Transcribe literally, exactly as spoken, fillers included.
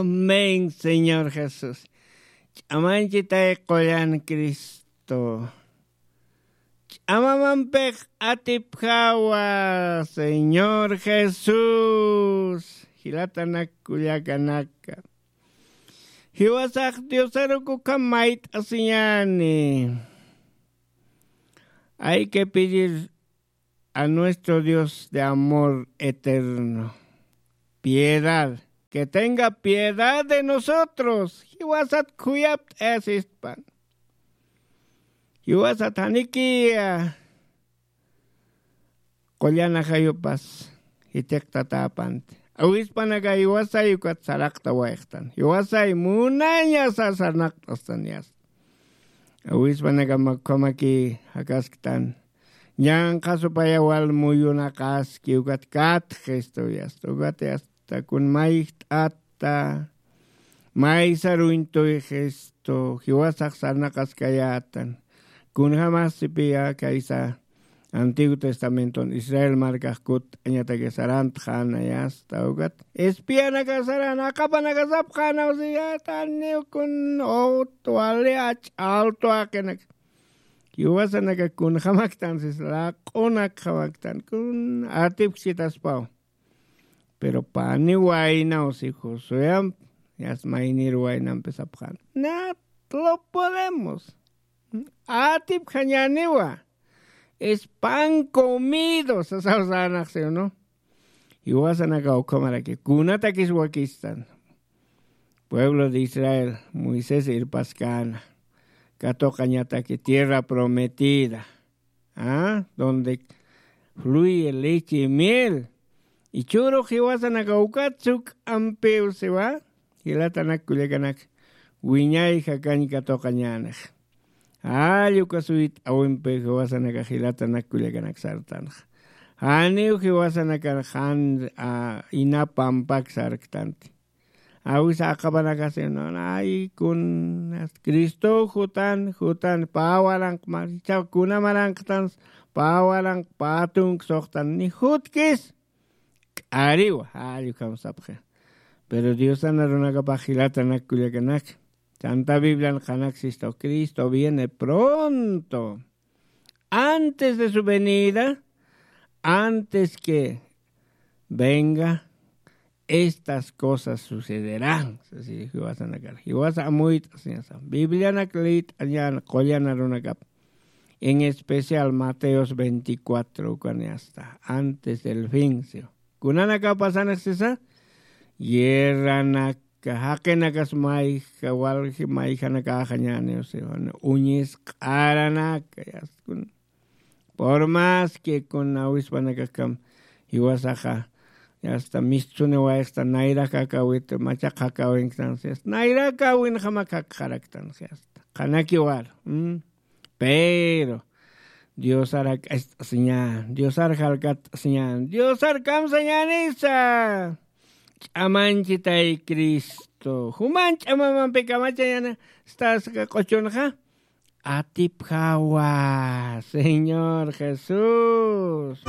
Amén, Señor Jesús. Ch'amanchitay qullan Cristo. Ch'amamampix atipjawa, Señor Jesús. Jilatanak kullakanaka. Jiwasax Diosarukuka mayt'asiñani. Hay que pedir a nuestro Dios de amor eterno piedad, que tenga piedad de nosotros. Jiwasat khuyapt'ayasispan. Jiwasat janikiya qullan ajayupas jitiqtatäpanti. Awispanaka jiwasay ukat saraqtawayxtan. Jiwasay munañasa sarnaqt'astan yasta. Awispanaka makhamaki jakasktan. Ñanqha supaya wal muyunaqaski ukat katxi, esto yasta. Ukat yasta kun mayjt'ata. Maysaruñtuy Cristo, jiwasax sarnaqaskayätan. Kunjamasipiya kaysa Antiguo Testamenton Israel markax kutt'añataki sarantxäna yasta ukat. Espianaka saran, aqapanaka sapxäna, usiyätan, niw kun ut wali ach'altu aqinak. Jiwasanaka kunjamaktan sis, laq'unakjamaktan, kun atipksitaspaw. Pero pani waynaw si Josueamp, yas maynir waynampi sapxän. No lo podemos. Atipjañäniwa. Es pan comido, sasaw sänaqsiw, ¿no? Jiwasanaka ukhamaraki, kunatakis wakistan. Pueblo de Israel, Moisés irpaskäna. Katuqañataki tierra prometida. ¿Ah? Donde fluye leche y miel. Ichhürux jiwasanaka ukat suk'ampiw siwa, jilatanak kullakanak, wiñay jakañ katuqañänix. Jall uka suyt'äwimpi jiwasanaka jilatanak kullakanak sartanxa. Janiw jiwasanaka jan, a, ina pampak sarktanti. Awisa aqapanakasi, no, ay, kun, Cristo jutan, jutan, pä waranq, ma, ichha kuna maranqtan, pä waranq, pä tunk suxtan, ni jutkis, k'ariwa, jall ukham sapxi. Pero Diosan arunakapax jilatanak kullakanak, Santa Biblian qhanaksistu, Cristo viene pronto. Antes de su venida, antes que venga, estas cosas sucederán. Así, jiwasanakar. Jiwasa amuyt'asiñasa. Biblianak liyt'añän qullan arunakap. En especial Mateos veinticuatro, ukan yasta. Antes del fin, ¿sí? Kunanaka pasanix sisa, guerranaka, jaqinakas mayja, walji mayjanakaxañäniw, ¿sí? Uñisq'aranaka, yasta kun. Por más que kun awispanakaxkam jiwasaxa, yasta mistsuniwayxta, nayrak jakawit, machaq jakawinktan, ¿sí? Nayrak jawinxamak jakxaraktan, ¿sí? Yasta. Qhanakiwar, ¿mm? Pero Diosar jak'acht'asiñän, Diosar jalkatt'asiñän, Diosar kamsañänisa. Ch'amanchitay Cristo. Juman ch'amamampi kamachañäni, stas q'uchunxa. Atipjawa, Señor Jesús.